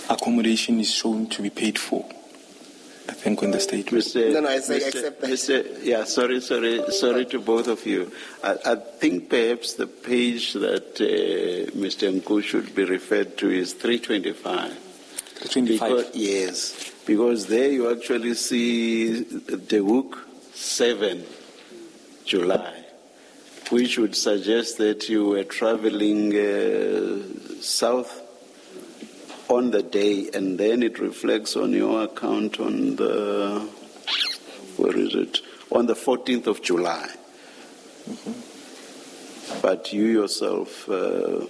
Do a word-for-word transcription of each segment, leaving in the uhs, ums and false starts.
accommodation is shown to be paid for. I think on the statement. Mister No, no, I say Mister accept that. Mister Yeah, sorry, sorry, sorry to both of you. I, I think perhaps the page that, uh, Mister Nku should be referred to is three twenty-five. three twenty-five. Because, yes, because there you actually see De Hoek seven, July, which would suggest that you were traveling, uh, south on the day, and then it reflects on your account on the, where is it? On the fourteenth of July. Mm-hmm. But you yourself, uh,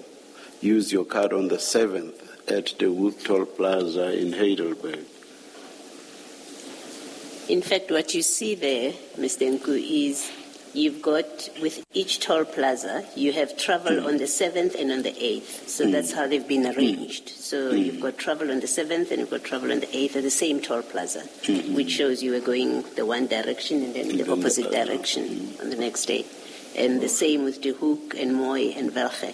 used your card on the seventh at the Hoek Toll Plaza in Heidelberg. In fact, what you see there, Mister Nku, is you've got, with each toll plaza, you have travel Mm. on the seventh and on the eighth. So Mm. that's how they've been arranged. So Mm. you've got travel on the seventh and you've got travel on the eighth at the same toll plaza, Mm-hmm. which shows you were going the one direction and then And the then the opposite other. direction Mm. on the next day. And the same with De Hoek and Mooi and Welge.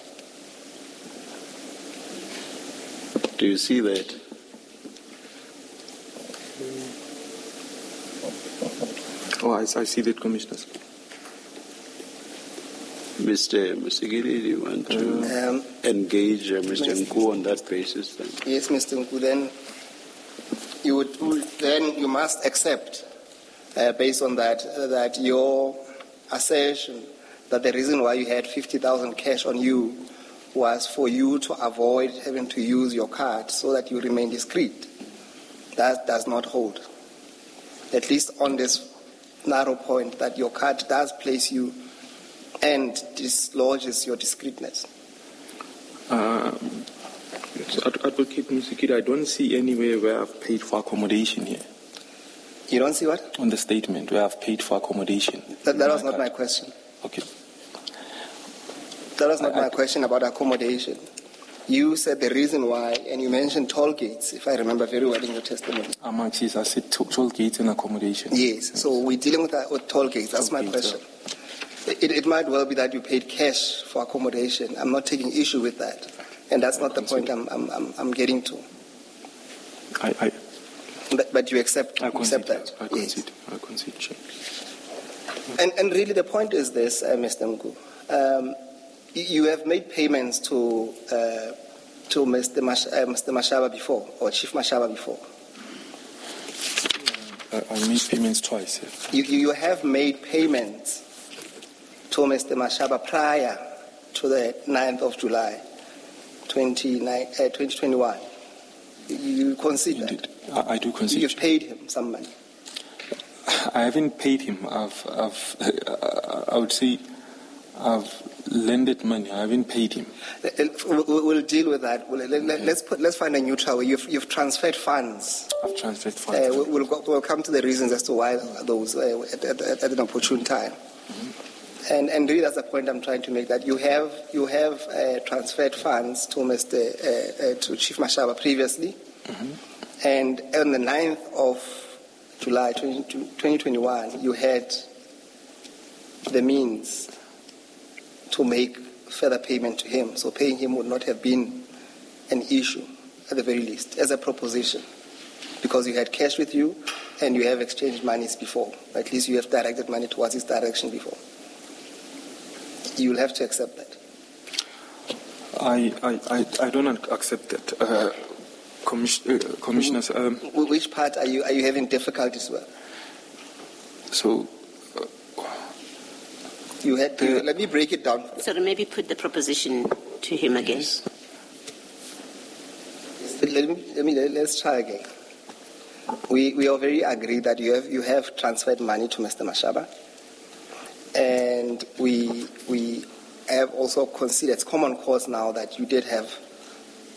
Do you see that? Oh, I, I see that, Commissioners. Mister Mosikili, do you want to Um, engage, uh, Mister Mister Nku on that basis then? Yes, Mister Nku, then you would, then you must accept, uh, based on that, uh, that your assertion that the reason why you had fifty thousand cash on you was for you to avoid having to use your card so that you remain discreet. That does not hold. At least on this narrow point that your card does place you and dislodges your discreetness. Um, Advocate Mosikili, I don't see anywhere where I've paid for accommodation here. You don't see what? On the statement where I've paid for accommodation. That, that was My not my card. question. Okay. That was not I, my I, question about accommodation. You said the reason why, and you mentioned toll gates, if I remember very well in your testimony. Amongst yes, I said to-, toll gates and accommodation. Yes, so we're dealing with, uh, with toll gates. That's Toll my gates, question. Yeah. It, it might well be that you paid cash for accommodation. I'm not taking issue with that. And that's not the point I'm, I'm, I'm, I'm getting to. I, I, but, but you accept, I accept concede, that. I Yes. concede. I concede, Chair. And, and really the point is this, uh, Mister Nku. Um, y-, you have made payments to, uh, to Mister Mash-, uh, Mister Mashaba before, or Chief Mashaba before. Uh, I made payments twice. Yeah. You, you, you have made payments to Mister Mashaba prior to the ninth of July, twenty nine, uh, twenty twenty-one. You, you concede that? Indeed. I, I do concede. You've paid him some money. I haven't paid him. I've, I've, I would say I've lended money. I haven't paid him. We'll deal with that. We'll, let, Okay. Let's put, let's find a neutral way. You've, you've transferred funds. I've transferred funds. Uh, we'll, we'll, we'll come to the reasons as to why those, uh, at, at, at an opportune time. Mm-hmm. And, and really, that's the point I'm trying to make. That you have, you have, uh, transferred funds to Mister, uh, uh, to Chief Mashaba previously, Mm-hmm. and on the ninth of July twenty twenty-one, you had the means to make further payment to him. So paying him would not have been an issue, at the very least, as a proposition, because you had cash with you and you have exchanged monies before. At least you have directed money towards his direction before. You'll have to accept that. I, I, I, I don't accept that, uh, commis-, uh, Commissioners. Um, Wh-, which part are you, are you having difficulties with? So, You had to, The let me break it down. Sorry, maybe put the proposition to him again. Yes. Let me, let me, let's try again. We, we already agreed that you have, you have transferred money to Mister Mashaba, and we, we have also considered, it's common cause now that you did have,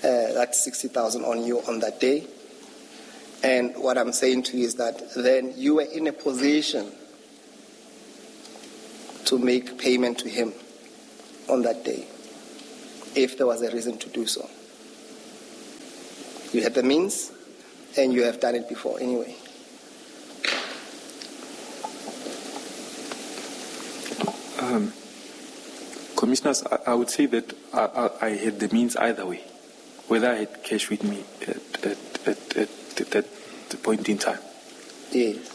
uh, that sixty thousand on you on that day. And what I'm saying to you is that then you were in a position to make payment to him on that day, if there was a reason to do so. You had the means, and you have done it before anyway. Um, Commissioners, I, I would say that I, I, I had the means either way. whether I had cash with me at, at, at, at that point in time. Yes.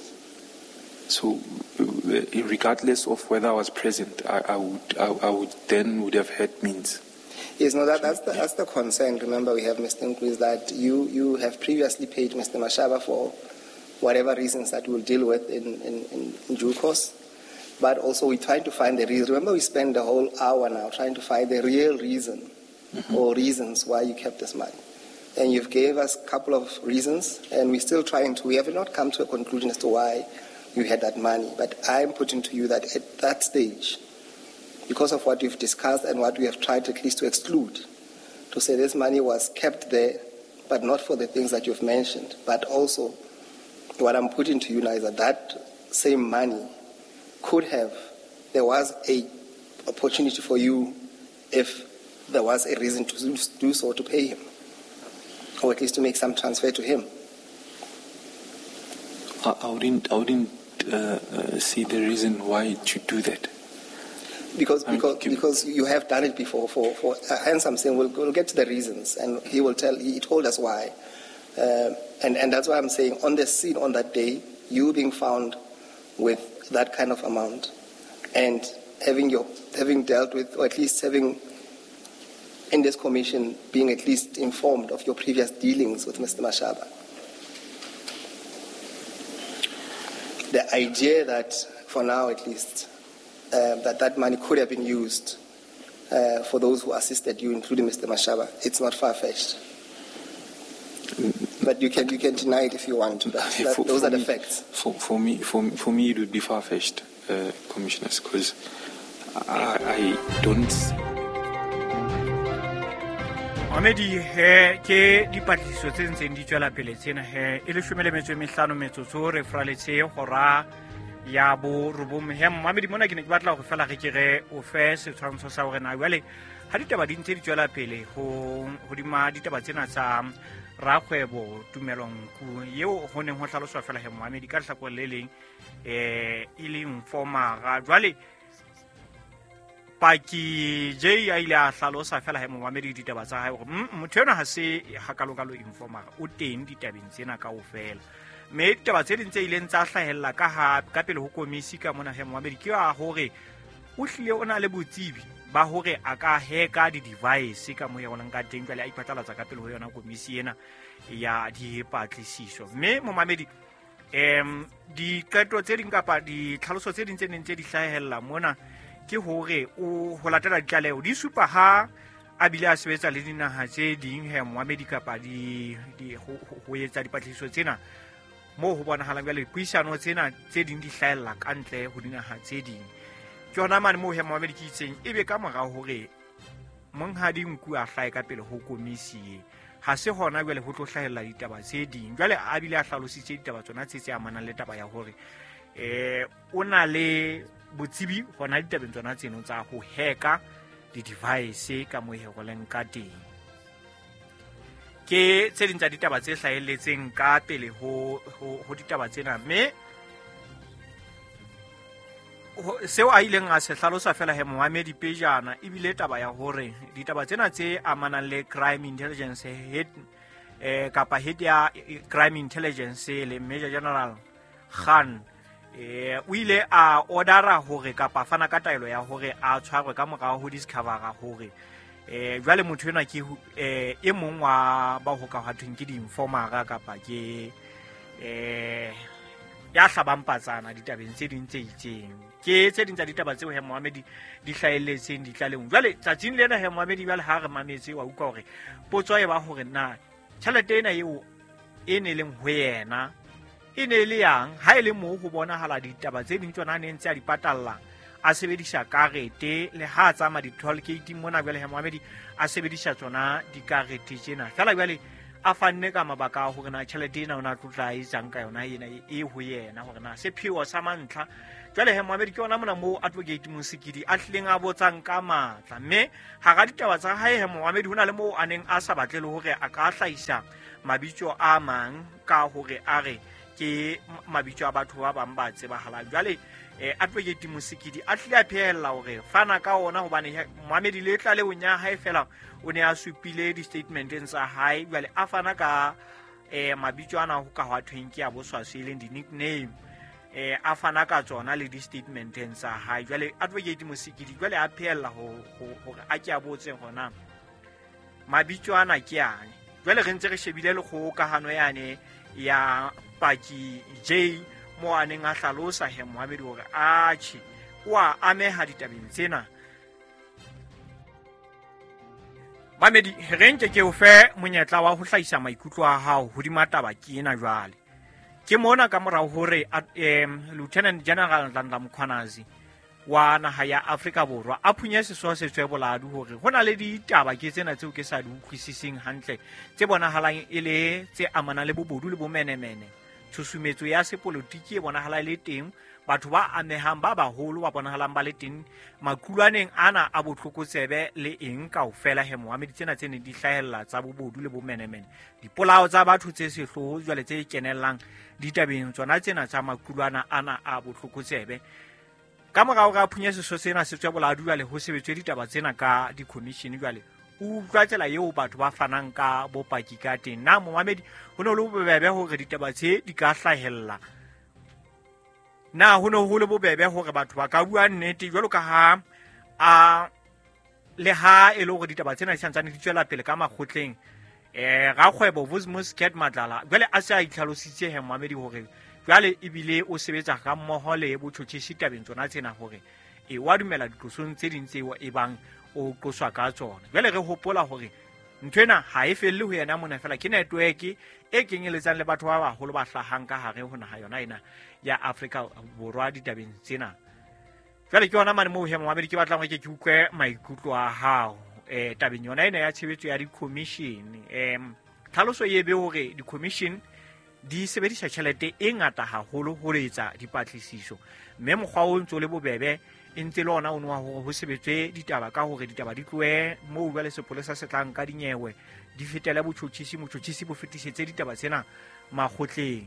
So, regardless of whether I was present, I, I would, I, I would then would have had means. Yes, no, that, that's the, that's the concern. Remember, we have Mister Nku, is that you, you have previously paid Mister Mashaba for whatever reasons that we'll deal with in, in, in, in due course. But also we're trying to find the reason. Remember, we spend the whole hour now trying to find the real reason mm-hmm. or reasons why you kept this money. And you've gave us a couple of reasons, and we're still trying to, we have not come to a conclusion as to why you had that money. But I'm putting to you that at that stage, because of what we've discussed and what we have tried at least to exclude, to say this money was kept there, but not for the things that you've mentioned, but also what I'm putting to you now is that that same money could have, there was a opportunity for you if there was a reason to do so, to pay him, or at least to make some transfer to him. I, I wouldn't, I wouldn't uh, uh, see the reason why to do that. Because because because you have done it before. For for uh, hence I'm saying we'll, we'll get to the reasons, and he will tell. He told us why, uh, and and that's why I'm saying on the scene on that day, you being found with that kind of amount, and having your having dealt with, or at least having in this commission being at least informed of your previous dealings with Mister Mashaba. The idea that, for now at least, uh, that that money could have been used uh, for those who assisted you, including Mister Mashaba, it's not far-fetched. But you can you can deny it if you want to. But that, for, those for are the me, facts. For, for me, for, for me, it would be far-fetched, uh, commissioners, because I, I don't. Mamedi he ke dipatlisiso tse ntseng di tswela pele tsena he e leshome le metso e mehlano metsotso re fraletse hora ya borobong he. Mamedi mona ke ne ke batla hore fela re ke re o fe setshwantsho sa hore na jwale ha ditaba di ntse di tswela pele ho hodima ditaba tsena tsa rakgwebo Tumelo Nku eo ho neng ho hlaloswa fela he Mamedi ka lehlakore le leng eh e leng formara. Jwale Paki J a ile a hlalosa fela he momamedi ditaba tsa hae hore motho ena ha se hakalokalo informer o teng ditabeng tsena kaofela. Mme ditaba tse ding tse ileng tsa hlahella ka ha ka pele ho komisi ka mona he momamedi ke a hore o hlile o na le botsebi ba hore a ka heka di-device ka mo yona ka teng jwale a iphatlalatsa ka pele ho yona komisi ena ya dipatlisiso. Mme momamedi em diqeto tse ding kapa ditlhaloso tse ding tse neng tse di hlahella mona ke hore o ho latela ditlaleho di supa ha a bile a sebetsa le dinaha tse ding he Moamedi kapa di ho etsa dipatlisiso tsena moo ho bonahalang jwale dipuisano tsena tse ding di hlahella ka ntle ho dinaha tse ding. Ke yona mane moo he Moamedi ke itseng ebe ka morao hore monghadi Nku a hlahe ka pele ho komisi e ha se hona jwale ho tlo hlahella ditaba tse ding. Jwale a bile a hlalositse ditaba tsona tse tse amanang le taba ya hore eh o na le botsebi hona ditabeng tsona tseno tsa ho heka di-device ka mo heroleng ka teng. Ke tse ding tsa ditaba tse hlahelletseng ka pele ho ho ditaba tsena. Mme seo a ileng a se hlalosa fela he Mohamedi pejana ebile taba ya hore ditaba tsena tse amanang le crime intelligence head eh kapa head ya crime intelligence le Major General Khan eh o ile a ordera hore kapa fana ka taelo ya hore a tshwarwe ka morao ho discovera hore eh jwale motho enwa ke eh e mong wa ba ho ka hwathweng ke di-informera kapa ke eh ya hlabang patsana ditabeng tse ding tse itseng. Ke tse ding tsa ditaba tseo he Mohamedi di hlahelletseng ditlalehong. Jwale tsatsing lena he Mohamedi jwale ha re mametse wa utlwa hore potso e ba hore na tjhelete ena eo e ne leng ho yena e ne le yang ha e le moo ho bonahala ditaba tse ding tsona ne ntse a di patalla a sebedisa karete le ha a tsamaya di-toll gate mona jwale he Mohamedi a sebedisa tsona dikarete tsena fela jwale a fanne ka mabaka a hore na tjhelete ena o na tlotla e etsang ka yona ena e ho yena hore na sepheo sa mantlha. Jwale he Mohamedi ke yona mona moo Advocate Mosikidi a hlileng a botsang ka matla. Mme hara ditaba tsa hae he Mohamedi ho na le moo a neng a sa batle le hore a ka hlahisa mabitso a mang ka hore a re ke mabitso a batho ba bang ba tsebahalang. Jwale eh Advocate Mosikidi a tlile a phehella hore fana ka ona hobane moamedi le tlalehong ya hae fela o ne a supile di-statementeng tsa hae jwale a fana ka eh mabitso ana ho ka hwa thweng ke a boswaswi e leng di-nickname eh a fana ka tsona le di-statementeng tsa hae. Jwale Advocate Mosikidi jwale a phehella hore a ke a botse hona mabitso ana ke ane. Jwale re ntse re shebile le kgokahano yane ya paki J mo a neng a hlalosa he moamedi hore atjhe o a ameha ditabeng tsena. Mamedi re nke ke o fe monyetla wa ho hlahisa maikutlo a hao hodima taba ke ena jwale. Ke mona ka morao hore um Lieutenant General Nhlanhla Mkhwanazi wa naha ya Afrika Borwa a phunye sesoa se tswe boladu hore ho na le ditaba ke tsena tseo ke sa di utlwisiseng hantle tse bonahalang e le tse amanang le bobodu le bomenemene. Tshusumetso ya sepolotiki e bonahala e le teng, batho ba amehang ba baholo ba bonahalang ba le teng makulwaneng ana a botlokotsebe le eng kaofela he moamedi tsena tse neng di hlahella tsa bobodu le bomenemene, dipolao tsa batho tse sehloho jwale tse kenellang ditabeng tsona tsena tsa makulwana ana a botlokotsebe. Ka morao ga phunye seso sena se tswa boladu jwale ho sebetswe ditaba tsena ka di-commission jwale o utlwa tsela eo batho ba fanang ka bopaki ka teng. Na momamedi ho ne ho le bobebe hore ditaba tse di ka hlahella? Na ho ne ho le bobebe hore batho ba ka bua nnete jwalo ka ha a le ha e le hore ditaba tsena di santsane di tswela pele ka makgotleng? Eh rakgwebo Vusimuzi Cat Matlala jwale a se a itlhalositse he momamedi hore jwale ebile o sebetsa ga mmoho le botjhotjhisi tabeng tsona tsena hore e wa dumela diqosong tse ding tseo e bang o qoswa ka tsona. Jwale re hopola hore ntho ena ha e felle ho yena mona fela, ke network e kenyeletsang le batho ba baholo ba hlahang ka hare ho naha yona ena ya Afrika Borwa ditabeng tsena. Jwale ke yona mane moo he momamedi ke batlang hore ke ke utlwe maikutlo a hao eh tabeng yona ena ya tshebetso ya di-commission. Em tlhaloso e be hore di-commission di sebedisa tjhelete e ngata haholo ho etsa dipatlisiso, mme mokgwa o ntso le bobebe e ntse le ona o no wa hore ho sebetswe ditaba ka hore ditaba di tlohe moo jwale sepolesa se tlang ka dinyewe di fetele botjhotjhisi, motjhotjhisi bo fetisetse ditaba tsena makgotleng.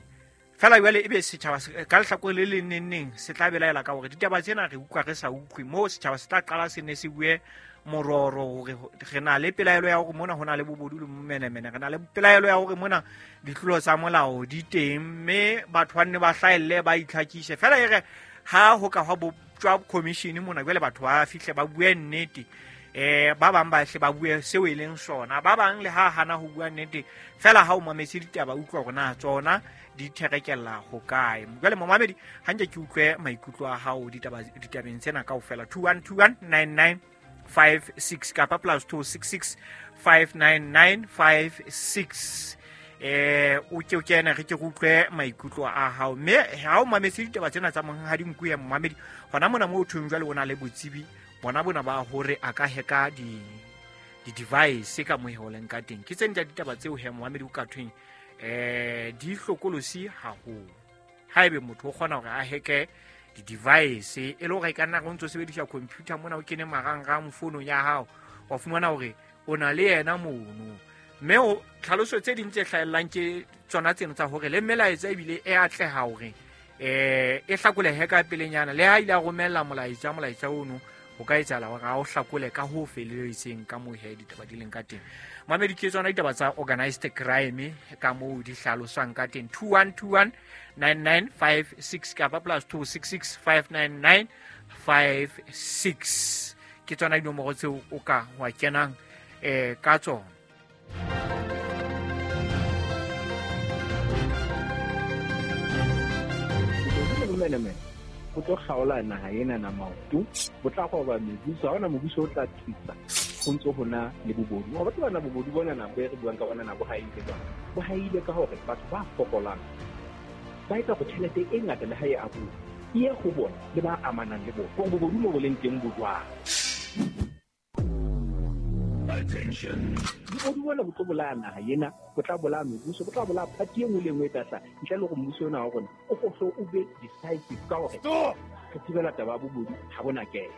Fela jwale ebe setjhaba ka lehlakore le leng neng neng se tla belaela ka hore ditaba tsena re utlwa re sa utlwe, moo setjhaba se tla qala se ne se bue mororo hore re na le pelaelo ya hore mona ho na le bobodu le menemene, re na le pelaelo ya hore mona ditlolo tsa molao di teng, mme batho ba nne ba hlahelle ba itlhakise. Fela e re ha ho ka hwa botjwa commission mona jwale batho ba fihle ba bue nnete, eh ba bang ba hle ba bue seo e leng sona, ba bang le ha hana ho bua nnete fela ha o mametse ditaba utlwa hore na tsona di therekella ho kae. Jwale momamedi ha nke ke utlwe maikutlo a hao ditaba ditabeng tsena kaofela. Two one two one nine nine five six kapa plus two six six five nine nine five six. Eh o ke o kene re ke utlwe maikutlo a hao, mme ha o mametse ditaba tsena tsa monghadi Nku ya momamedi hona mona mo thong jwale o na le botsebi bona bona ba hore a ka heka di di device ka moholeng ka teng. Ke tsena ditaba tseo he momamedi o ka thweng eh di hlokolosi haholo. Haebe motho o kgona hore a heke di device e le hore ka nna go ntso sebedisa computer mona o kene marangrang founong ya hao wa fumana hore o na le yena mono, mme o tlhaloso tse ding tse hlahellang ke tsona tseno tsa hore le melaetsa ebile e atleha hore eh e hlakolehe ka pelenyana le ha ile a romella molaetsa molaetsa ono ho ka etsahala hore ha o hlakole ka ho feletseng ka moo he ditaba di leng ka teng. Mamedi ke tsona ditaba tsa organized crime ka moo di hlaloswang ka teng. Two one two one nine nine five six kapa plus two six six five nine nine five six ke tsona dinomoro tseo o ka wa kenang eh ka tsona. Ho tlo kgaola naha ena na maoto, bo tla roba mebuso, ha hona mobuso o tla thusa ho ntso ho na le bobodu. Wa batho bana bobodu bona na bo re buang ka bona na bo haile jwang? Bo haile ka hore batho ba fokolang ba etsa hore tjhelete e ngata le ha e abuwa e ye ho bona le ba amanang le bona. Hore bobodu mo bo leng teng bo jwang? Attention. Bobodu bona bo tlo bolaya naha ena, bo tla bolaya mebuso, bo tla bolaya party e nngwe le e nngwe e tla hlaha ntle le hore mmuso ona wa rona o hlo o be decisive ka hore re thibela taba ya bobodu ha bona kena.